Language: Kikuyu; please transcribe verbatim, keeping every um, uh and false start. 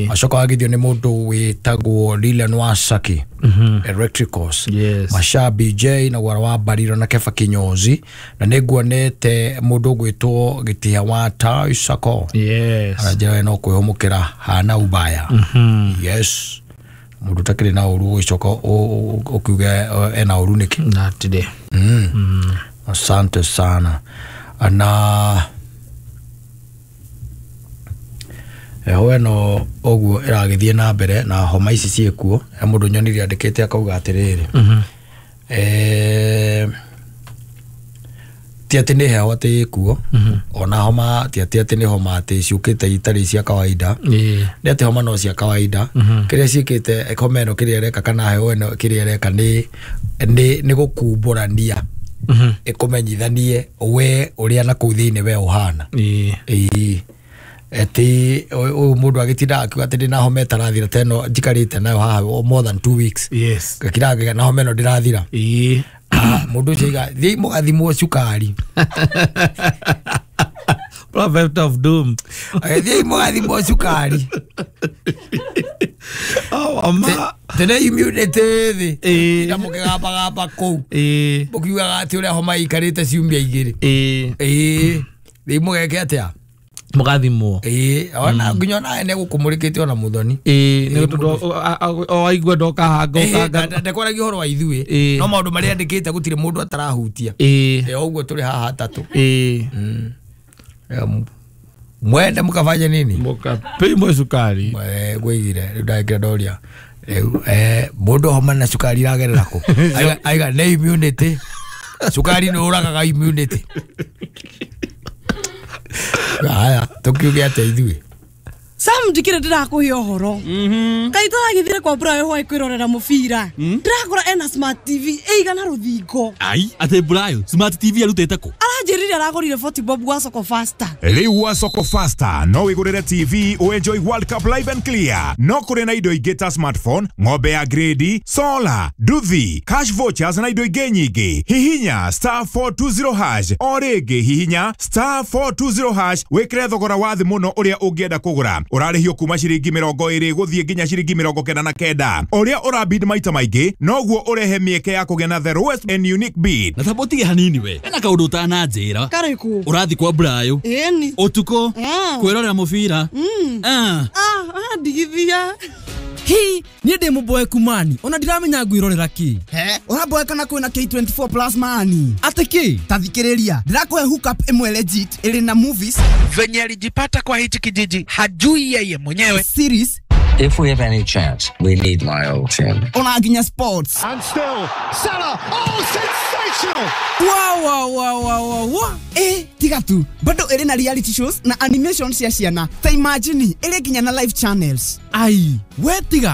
Acoka wagithio nĩ mũndũ wĩtagwo Lilian Wasaki Electricals. Yes. Masha B J na Gwara wa Bariro na Kefa Kinyozi na nĩ nguonete mũndũ ũgwĩtwo Gĩtĩa wa Tai Sako. Yes. Aranjĩra we no kwĩhũmũkĩra hana ubaya. Yes. Mũndũ ũtakĩrĩ na ũru ũgĩcoka ũkiuge ena ũru nĩkĩ? Not today. Mm. Asante sana. Na heho ĩno ũguo ĩragĩthiĩ na mbere na homa ici ciĩkuo. He mũndũ nyonire andĩkĩte akauga atĩrĩrĩ, eh, ti atĩ nĩ heho atĩ ĩkuo, ona homa ti atĩ atĩ nĩ homa atĩ ciũkĩte itarĩ cia kawaida. Nĩ atĩ homa no cia kawaida. Kĩrĩa ciĩkĩte homa ĩno kĩrĩa ĩreka kana heho ĩno kĩrĩa ĩreka nĩ nĩ nĩ gũkumbũrania ĩkũmenyithanie we ũrĩa na kũu thĩinĩ we ũhana. Ĩĩ. Eti ũyũ mũndũ agĩtinda akiuga atĩ ndĩna homa ĩtarathira ta ĩno njikarĩte nayo haha more than two weeks. Yes. Gakira na homa ĩno ndĩrathira. Ĩĩ. Mũndũ ũcio aiga thiĩ mũgathimwo cukari. Prophet of doom. Thiĩ mũgathimwo cukari. Oh, ama. Tene immunity thĩ. Ĩĩ. Na mũkĩgambagamba kũu. Ĩĩ. Mũkiugaga atĩ ũrĩa homa ĩikarĩte ciumia igĩrĩ. Ĩĩ. Ĩĩ. Thiĩ mũgeke atĩa? Mũgathimwo. Ĩĩ, ona nginya ona ene gũkũmũrĩkĩte ona mũthoni. Ĩĩ, nĩ tondũ o aigua ndokahanga ũkanga. Ndekwaragia ũhoro wa ithuĩ, no maũndũ marĩa andĩkĩte gũtirĩ mũndũ atarahutia. Ĩĩ. Ĩ ũguo tũrĩ haha atatũ. Ĩĩ. Mwende mũkafanye nini? Mũkapimwo cukari. Ngwĩgire rĩu ndagĩkĩra ndoria. Rĩu eh mũndũ homa na cukari iragerera kũ? Aiga nĩ immunity. Cukari nĩ ũragaga immunity. Haya, tukiuge atĩa ithuĩ? Sam ndikire ndirakuhe ũhoro. Kaĩ tũragĩthire kwa Brayo hwaĩ kwĩrorera mũbira. Ndĩrakora ena smart T V ĩigana rũthingo. Ai, atĩ Brayo smart T V arutĩte kũ? Aranjĩrire aragũrire forty bob gwa Soko Faster. Rĩu gwa Soko Faster no wĩgũrĩre T V ũenjoy World Cup live and clear. No kũrĩ na indo ingĩ ta smartphone, ng'ombe ya grade, solar, nduthi, cash vouchers na indo ingĩ nyingĩ. Hihinya star four two zero hash o rĩngĩ hihinya star four two zero hash wĩkĩre thogora wa thĩ mũno ũrĩa ũngĩenda kũgũra. Ũrarĩhio kuma ciringi mĩrongo ĩrĩ gũthiĩ nginya ciringi mĩrongo kenda na kenda. Ũrĩa ũrabid maita maingĩ noguo ũrehe mĩeke ya kũgĩa na the lowest and unique bid. Na tabo tige hanini we. Ena kaũndũ ũtananjĩra. Karĩkũ? Ũrathiĩ kwa Brayo. Ĩni. Ũtukũ. Kwĩrorera mũbira. Ah, ah, ndigithia. Hi, niĩ ndĩ mũboeku mani ona ndiramenya ngwĩrorera kĩ. He, ũraboeka na kwĩna K twenty-four plus mani. Atĩ kĩ? Ta thikĩrĩria, ndĩrakũhe hookup ĩmwe legit ĩrĩ na movies. Venye alijipata kwa hichi kijiji hajui yeye mwenyewe. Series. If we have any chance, we need my old team. Ona nginya sports. And still, Salah, oh, sensational! Wow, wow, wow, wow, wow. Eh, tiga tu. Bado ĩrĩ na reality shows na animation cia ciana. Ta imagine, ĩrĩ nginya na live channels. Ai, we tiga.